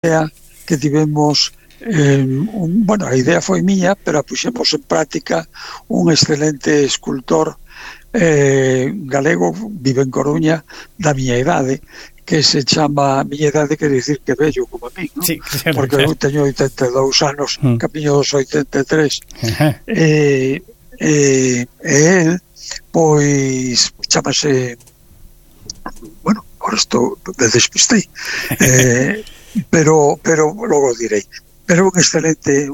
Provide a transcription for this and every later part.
idea que tivemos, bueno, a idea foi miña, pero a puxemos en práctica un excelente escultor galego, vive en Coruña, da miña idade, que se chama, miña idade quer dicir que vello como a mí, ¿no? Sí, claro, porque claro. eu teño 82 anos, camiño dos 83. Él, pois, chamase, bueno, ahora estou me despistei, pero logo direi. Pero un excelente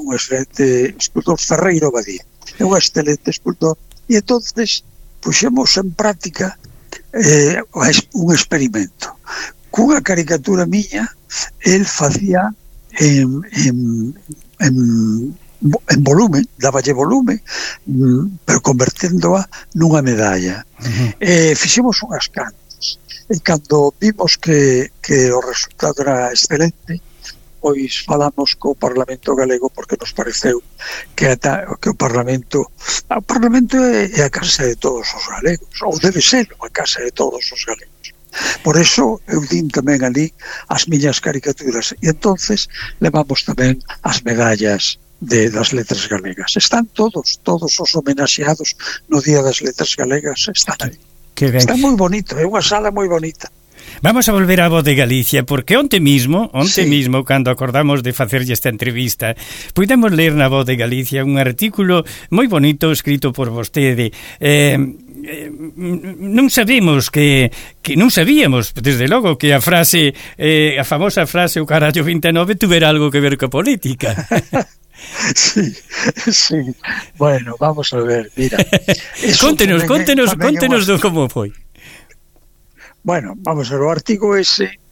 escultor, Ferreiro Badía, é un excelente escultor, e entonces puxemos en práctica un experimento. Cunha caricatura miña, el facía en volumen, dáballe volume, pero converténdoa nunha medalla. Fixemos unhas cantas, e cando vimos que o resultado era excelente, pois falamos co Parlamento galego, porque nos pareceu que o Parlamento é a casa de todos os galegos, ou debe ser a casa de todos os galegos. Por eso eu din tamén ali as miñas caricaturas, e entonces levamos tamén as medallas das letras galegas. Están todos os homenaxeados no Día das Letras Galegas, están aí. Está moi bonito, é unha sala moi bonita. Vamos a volver á Voz de Galicia, porque onte mismo, cando acordamos de facerlle esta entrevista, puidemos ler na Voz de Galicia un artículo moi bonito escrito por vostede. Non sabíamos, desde logo, que a frase, a famosa frase, o carallo 29, tuvera algo que ver coa política. Sí. Bueno, vamos a ver, mira. Contenos como foi. Bueno, vamos a ver, o artigo ese,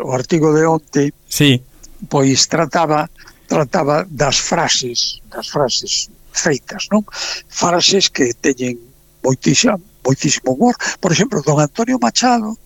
o artigo de onte, sí, pois trataba das frases feitas, non? Frases que teñen moitísimo humor. Por exemplo, don Antonio Machado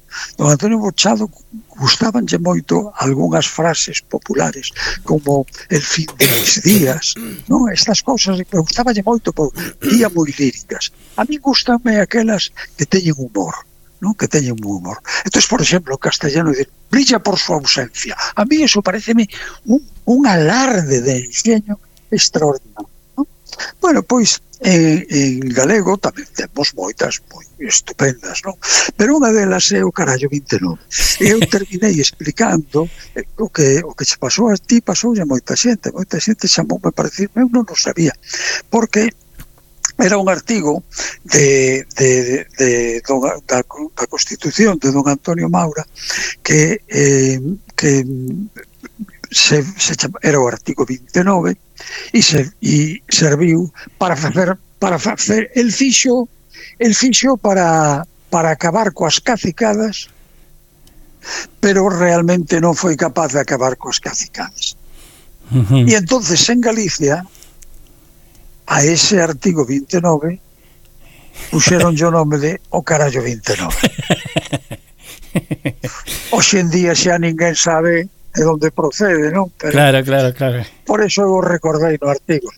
gustabanlle moito algunhas frases populares, como el fin de mis días, non? Estas cousas me gustabanlle moito, día moi líricas. A mí gustanme aquelas que teñen humor, ¿no? Que teñen un humor. Entonces, por exemplo, en castellano dice, brilla por su ausencia. A mí eso pareceme un alarde de enxeño extraordinario, ¿no? Bueno, pois en galego tamén temos moitas moi estupendas, non? Pero unha delas é o carallo 29. Eu terminei explicando o que se pasou a ti, pasou a moita xente chamoume para decirme, eu non o sabía, porque era un artigo da Constitución de don Antonio Maura que era o artigo 29 e serviu para facer el fixo para acabar coas cacicadas, pero realmente non foi capaz de acabar coas cacicadas. E entonces en Galicia a ese artigo 29 puxeron o nome de o carallo 29. Hoxe en día xa ninguén sabe de onde procede, non? Pero claro. Por eso eu recordei no artigo.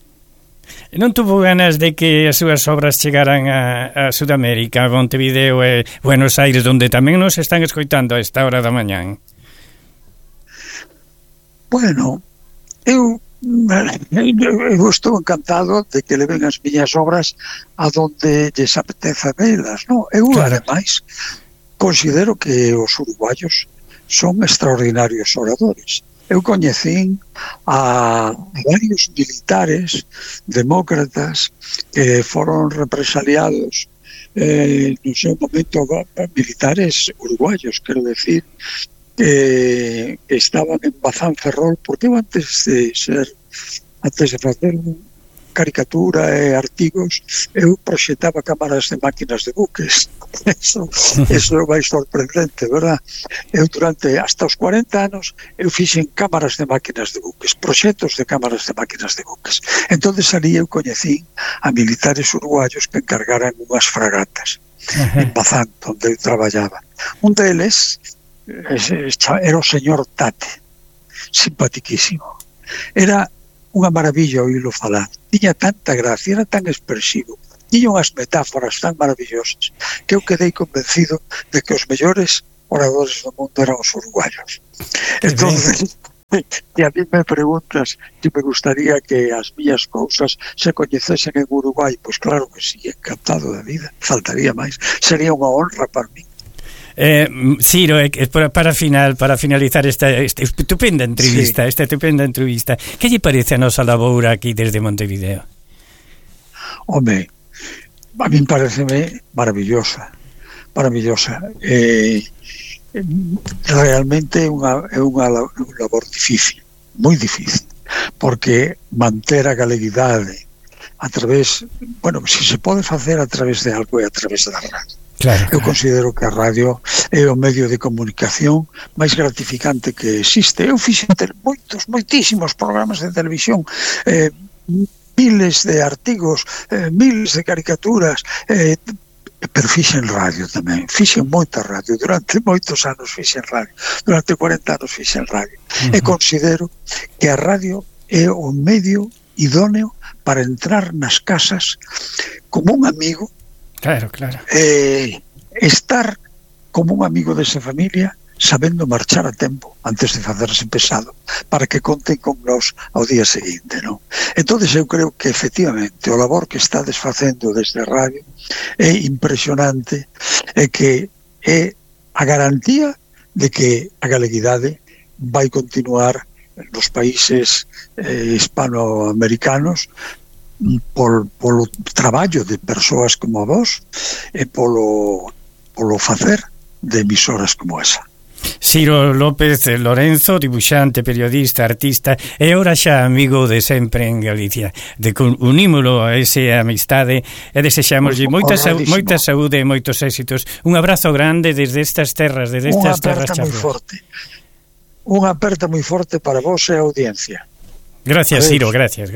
Non tuvo ganas de que as súas obras chegaran a Sudamérica, a Montevideo e Buenos Aires, onde tamén nos están escoitando a esta hora da mañán? Bueno, eu estou encantado de que leven as miñas obras a donde lles apeteza velas, non? Eu, ademais, considero que os uruguayos son extraordinarios oradores. Eu coñecín a varios militares demócratas que foron represaliados no seu momento, militares uruguayos, quero decir, que estaban en Bazán Ferrol, porque eu antes de facer caricatura e artigos, eu proxetaba cámaras de máquinas de buques. Eso é máis sorprendente, verdad? Eu durante hasta os 40 anos eu fixen cámaras de máquinas de buques, proxectos de cámaras de máquinas de buques. Entonces ali eu coñecín a militares uruguayos que encargaran unhas fragatas en Bazán, onde eu traballaba. Un deles era o señor Tate, simpatiquísimo. Era unha maravilla oírlo falar. Tiña tanta gracia, era tan expresivo, tiña unhas metáforas tan maravillosas que eu quedei convencido de que os mellores oradores do mundo eran os uruguayos. Entonces, que a mí me preguntas se me gustaría que as mías cousas se coñecesen en Uruguai, pois claro que sí, encantado da vida, faltaría máis, sería unha honra para mí. Ciro, para finalizar esta estupenda entrevista, que lle parece a nosa laboura aquí desde Montevideo? Home, a mí pareceme maravillosa. Realmente é unha labor difícil, moi difícil, porque manter a galeguidade a través, bueno, se se pode facer a través de algo é a través da radio. Claro. Eu considero que a radio é o medio de comunicación máis gratificante que existe. Eu fixen moitísimos programas de televisión, miles de artigos, miles de caricaturas, pero fixen radio tamén, fixen moita radio, durante moitos anos fixen radio, durante 40 anos fixen radio, e considero que a radio é o medio idóneo para entrar nas casas como un amigo, claro, estar como un amigo desa familia, sabendo marchar a tempo antes de facerse pesado, para que conten con nós ao día seguinte, non? Entonces eu creo que efectivamente o labor que está desfacendo desde a radio é impresionante, e que é a garantía de que a galeguidade vai continuar nos países hispanoamericanos polo traballo de persoas como vos e polo facer de emisoras como esa. Ciro López Lorenzo, dibuixante, periodista, artista e ora xa amigo de sempre en Galicia. Unímolo a esa amistade e desexamoslle moita saúde e moitos éxitos. Un abrazo grande desde estas terras, chaflas. Unha aperta moi forte para vos e a audiencia. Gracias, Ciro, gracias.